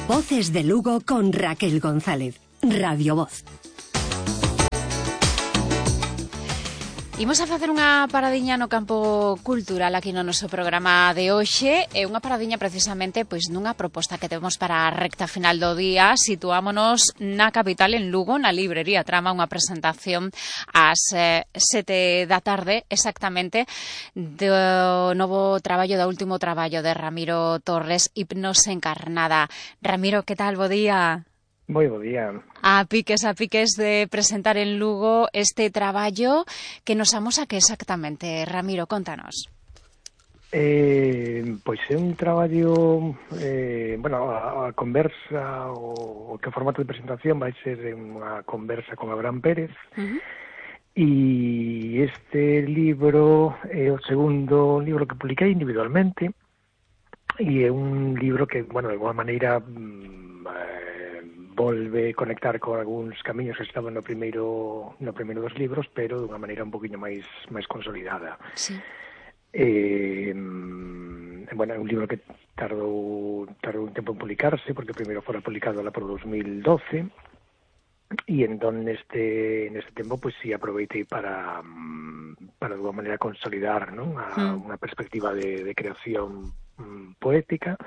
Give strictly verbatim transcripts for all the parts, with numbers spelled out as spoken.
Voces de Lugo con Raquel González. Radio Voz. Imos a facer unha paradiña no campo cultural aquí no noso programa de hoxe. É unha paradiña precisamente pois nunha proposta que temos para a recta final do día. Situámonos na capital, en Lugo, na librería Trama, unha presentación ás eh, sete da tarde, exactamente, do novo traballo, do último traballo de Ramiro Torres, Hipnose Encarnada. Ramiro, que tal? Bo día. Moi bo día. A piques, a piques de presentar en Lugo este traballo que nos amosa que exactamente. Ramiro, contanos. Eh, pois é un traballo, eh, bueno, a, a conversa, o, o que formato de presentación vai ser unha conversa con Abraham Pérez. Uh-huh. E este libro é o segundo libro que publiquei individualmente, e é un libro que, bueno, de alguma maneira eh, volve conectar con algúns camiños que estaban no primeiro no primeiro dos libros, pero de unha maneira un poquinho máis máis consolidada. Sí. Eh, bueno, é un libro que tardou tardou un tempo en publicarse, porque primeiro fora publicado lá por dos mil doce, e entón neste neste tempo pois si aproveitei para para de alguma maneira consolidar, non, a, mm. unha perspectiva de, de creación um, poética,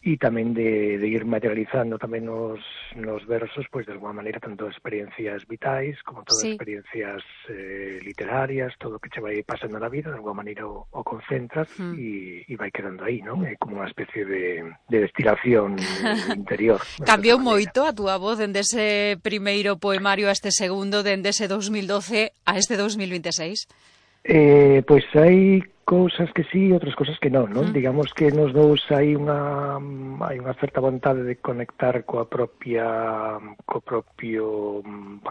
e tamén de, de ir materializando tamén nos, nos versos, pois de alguma maneira tanto experiencias vitais como todas sí. experiencias eh, literarias, todo o que che vai pasando na vida, de alguma maneira o, o concentras mm. e, e vai quedando aí, non? É como unha especie de, de destilación interior. Cambiou moito a túa voz dende ese primeiro poemario a este segundo, dende ese dos mil doce a este dos mil vinte e seis? Eh, pois hai cousas que sí, outras cousas que non, non? Mm. Digamos que nos dous hai unha hai unha certa vontade de conectar coa propia co propio,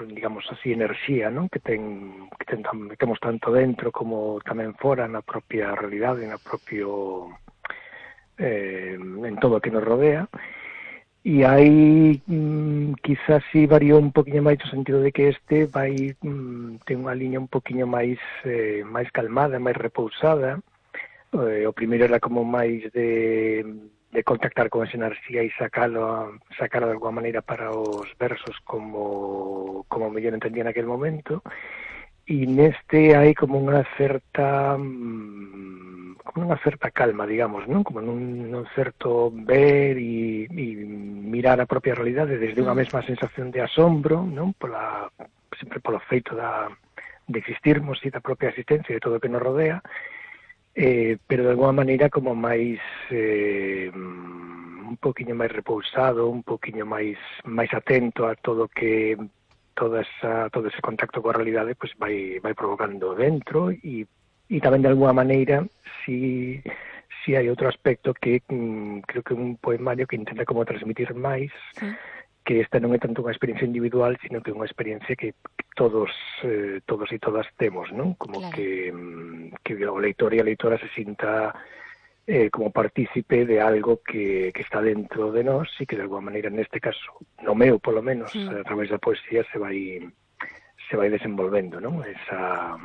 digamos así, enerxía, non? Que ten que ten que temos tanto dentro como tamén fora na propia realidade, na propio eh, en todo o que nos rodea. E aí mm, quizás si variou un poquinho máis no sentido de que este vai mm, ten unha liña un poquinho máis eh, máis calmada, máis repousada. Eh, o primeiro era como máis de, de contactar con esa enerxía e sacalo, sacalo de alguma maneira para os versos como, como mellor entendía naquel momento. E neste hai como unha certa como unha certa calma, digamos, non? Como nun, nun certo ver e, e mirar a propia realidade desde unha mesma sensación de asombro, non? Pola, sempre polo feito da, de existirmos e da propia existencia de todo o que nos rodea, eh, pero de alguma maneira como máis eh, un poquinho máis repousado, un poquinho máis máis atento a todo que toda esa, todo ese contacto coa realidade pois vai, vai provocando dentro e, e tamén de alguma maneira si, si hai outro aspecto que mm, creo que un poemario que intenta como transmitir máis, sí. Que esta non é tanto unha experiencia individual, sino que é unha experiencia que todos eh, todos e todas temos, non? Como claro. que, que o leitor e a leitora se sinta Eh, como partícipe de algo que, que está dentro de nós e que de alguma maneira neste caso, no meu polo menos, sí. A través da poesía se vai se vai desenvolvendo, non? Esa,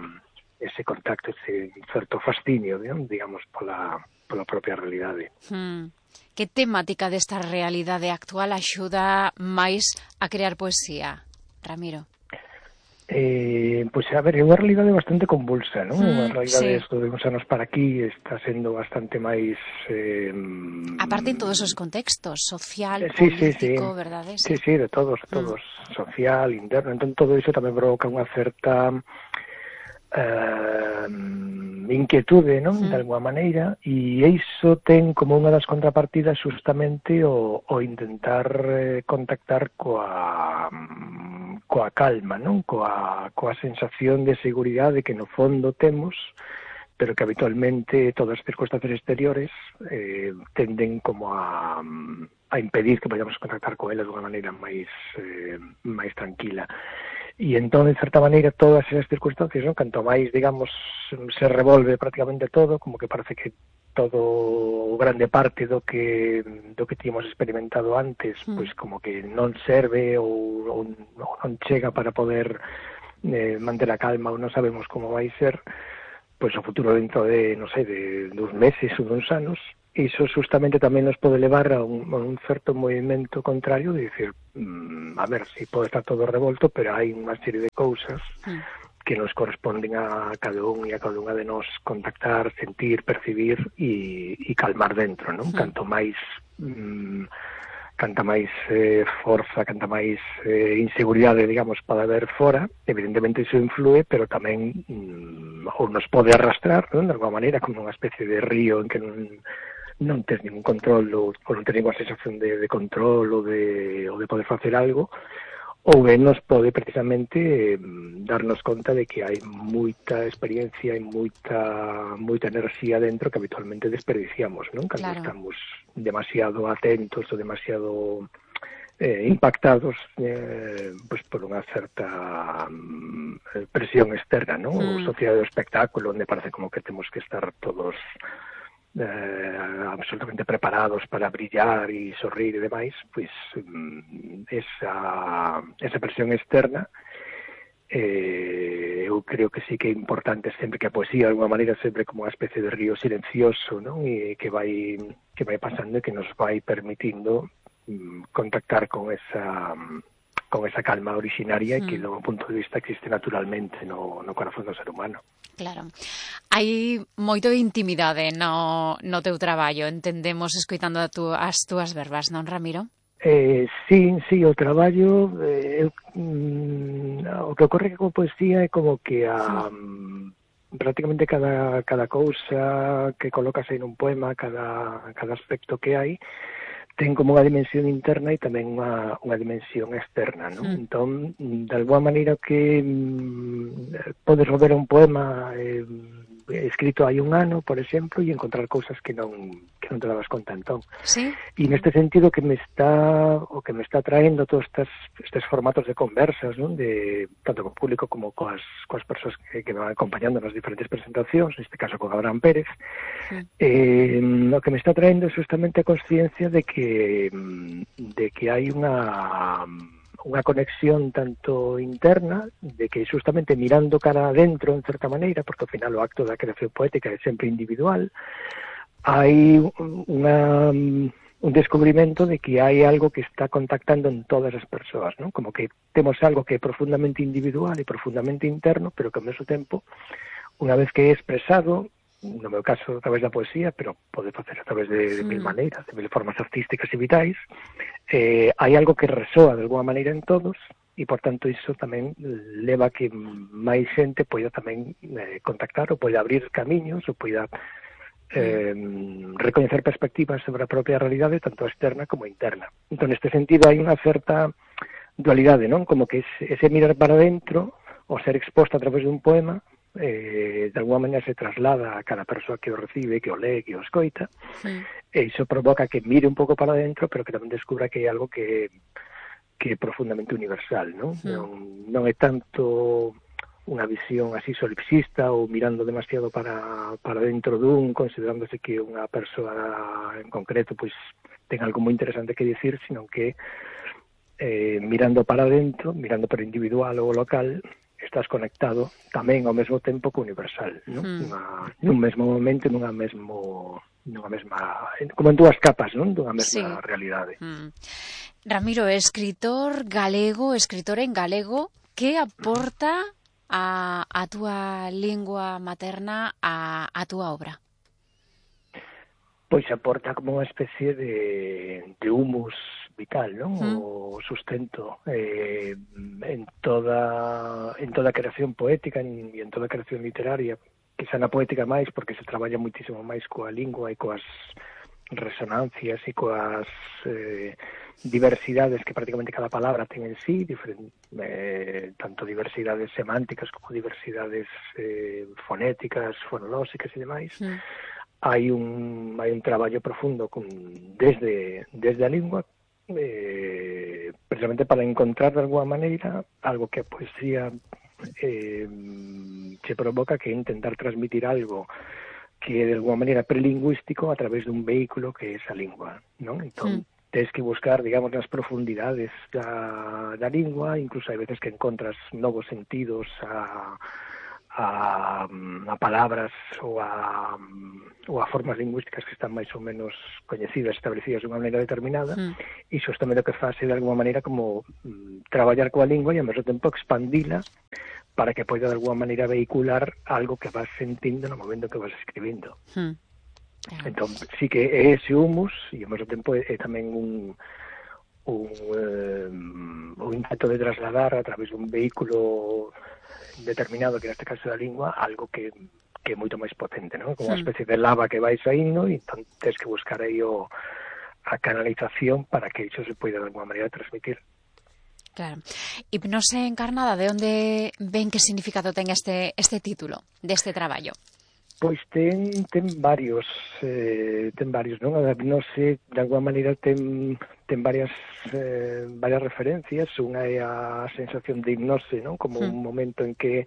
ese contacto, ese certo fascinio, digamos, pola, pola propia realidade. Hmm. Que temática desta realidade actual axuda máis a crear poesía, Ramiro? Eh, pois, a ver, é unha realidade bastante convulsa, non? Mm, unha realidade, sí. De uns anos para aquí está sendo bastante máis... Eh, aparte en todos os contextos, social, eh, sí, político, sí, sí. verdade? Sí, sí, de todos, de todos, mm. Social, interno, entón todo iso tamén provoca unha certa eh, inquietude, non? Mm. De alguma maneira, e iso ten como unha das contrapartidas justamente o, o intentar eh, contactar coa... coa calma, non? Coa, coa sensación de seguridade que no fondo temos, pero que habitualmente todas as circunstancias exteriores eh, tenden como a, a impedir que vayamos a contactar con ela de unha maneira máis eh, máis tranquila. E entón, de certa maneira, todas esas circunstancias, non? Canto máis, digamos, se revolve prácticamente todo, como que parece que todo grande parte do que do que tínhamos experimentado antes, mm. pois como que non serve ou, ou non chega para poder eh, manter a calma ou non sabemos como vai ser, pois o futuro dentro de, non sei, de dos meses ou dos anos, iso justamente tamén nos pode levar a un, a un certo movimento contrario de dicir, mmm, a ver, si pode estar todo revolto, pero hai unha serie de cousas mm. que nos corresponden a cada un e a cada unha de nós contactar, sentir, percibir e, e calmar dentro, non? Mm. Canto máis mmm, canta máis eh, forza, canta máis eh, inseguridade, digamos, para haber fora, evidentemente iso influe, pero tamén mm, ou nos pode arrastrar, non? De alguma maneira, como unha especie de río en que non, non tes ningún control ou, ou non tes ninguna sensación de, de control ou de, ou de poder facer algo, ou ben nos pode precisamente eh, darnos conta de que hai moita experiencia e moita moita enerxía dentro que habitualmente desperdiciamos, non? Cando claro. estamos demasiado atentos ou demasiado eh, impactados eh, pues por unha certa um, presión externa, non? Mm. O sociedade do espectáculo, onde parece como que temos que estar todos Eh, absolutamente preparados para brillar e sorrir e demais, pois esa, esa presión externa eh, eu creo que sí que é importante sempre que a poesía de alguma maneira sempre como unha especie de río silencioso, non? E que vai que vai pasando e que nos vai permitindo mm, contactar con esa con esa calma originaria mm. que do punto de vista existe naturalmente no, no corazón do ser humano. Claro. Hai moito de intimidade no, no teu traballo, entendemos escoitando a tu, as túas verbas, non, Ramiro? Eh, sí, sí, o traballo eh, mm, o que ocorre que con poesía é como que a mm. prácticamente cada, cada cousa que colocas aí nun poema, cada, cada aspecto que hai ten como unha dimensión interna e tamén unha, unha dimensión externa, non? Mm. Entón, de alguma maneira que mm, podes volver a un poema eh, escrito hai un ano, por exemplo, e encontrar cousas que non que non te dabas conta entón. Sí. E neste sentido que me está o que me está traendo todos estes, estes formatos de conversas, non? De tanto co público como coas coas persoas que, que me van acompañando nas diferentes presentacións, neste caso con Abraham Pérez. Sí. Eh, o que me está traendo é justamente a consciencia de que de que hai unha unha conexión tanto interna, de que justamente mirando cara adentro, en certa maneira, porque ao final o acto da creación poética é sempre individual, hai unha, un descubrimento de que hai algo que está contactando en todas as persoas, non? Como que temos algo que é profundamente individual e profundamente interno, pero que ao mesmo tempo, unha vez que é expresado, no meu caso a través da poesía, pero pode facer a través de, de sí. mil maneiras, de mil formas artísticas e vitais, eh, hai algo que resoa de alguma maneira en todos e, por tanto, iso tamén leva a que máis xente poida tamén eh, contactar ou poida abrir camiños ou poida eh, recoñecer perspectivas sobre a propia realidade, tanto externa como interna. Entón, neste sentido, hai unha certa dualidade, non? Como que ese, ese mirar para dentro, o ser exposto a través dun poema, Eh, de alguma maneira se traslada a cada persoa que o recibe, que o lee, que o escoita, sí. E iso provoca que mire un pouco para dentro, pero que tamén descubra que hai algo que, que é profundamente universal, non? Sí. Non, non é tanto unha visión así solipsista ou mirando demasiado para, para dentro dun, considerándose que unha persoa en concreto pois ten algo moi interesante que dicir, sino que eh, mirando para dentro, mirando para individual ou local, estás conectado tamén ao mesmo tempo co universal, non? Mm. Unha, nun mesmo momento, nunha mesmo nunha mesma, como en dúas capas, non? Dunha mesma sí. realidade. Mm. Ramiro, escritor galego, escritor en galego, que aporta a, a túa lingua materna a, a túa obra? Pois aporta como unha especie de, de humus vital, non? Mm. O sustento eh, en toda en toda a creación poética e en toda a creación literaria, quizá na poética máis porque se traballa moitísimo máis coa lingua e coas resonancias e coas eh, diversidades que prácticamente cada palabra ten en sí, diferente, eh, tanto diversidades semánticas como diversidades eh, fonéticas, fonolóxicas e demais. Mm. Hai un hai un traballo profundo con, desde desde a lingua, eh, precisamente para encontrar de alguma maneira algo que a poesía eh, se provoca, que é intentar transmitir algo que é de alguma maneira prelingüístico a través dun vehículo que é esa lingua, non? Entón, mm. tens que buscar, digamos, nas profundidades da, da lingua, incluso hai veces que encontras novos sentidos a a, a palabras ou a, ou a formas lingüísticas que están máis ou menos coñecidas, establecidas de unha maneira determinada, mm. e iso tamén o que faz de alguma maneira como mm, traballar coa lingua e ao mesmo tempo expandila para que poida de alguma maneira vehicular algo que vas sentindo no momento que vas escribindo. Mm. Entón, sí que é ese humus e ao mesmo tempo é, é tamén un un, eh, un intento de trasladar a través dun vehículo determinado, que neste caso da lingua, algo que, que é moito máis potente, ¿no? Como unha especie de lava que vai saindo e entón tens que buscar aí o, a canalización para que iso se poida de alguma maneira transmitir. Claro. Hipnose encarnada, de onde ven que significado ten este, este título deste traballo? Pois ten, ten varios, eh, ten varios, non? A hipnose, de alguma maneira, ten, ten varias, eh, varias referencias. Unha é a sensación de hipnose, non? Como mm. un momento en que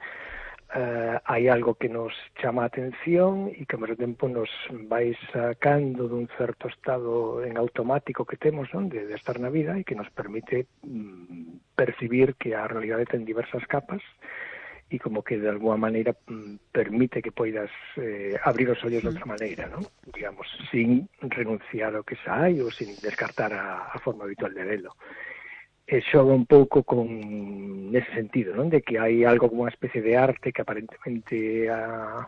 eh, hai algo que nos chama a atención e que ao mesmo tempo nos vai sacando dun certo estado en automático que temos, non? De, de estar na vida e que nos permite mm, percibir que a realidade ten diversas capas e como que de alguma maneira permite que poidas eh, abrir os ollos de outra maneira, non? Digamos, sin renunciar ao que xa hai ou sin descartar a, a forma habitual de velo. E xoga un pouco con nese sentido, non? De que hai algo como unha especie de arte que aparentemente a,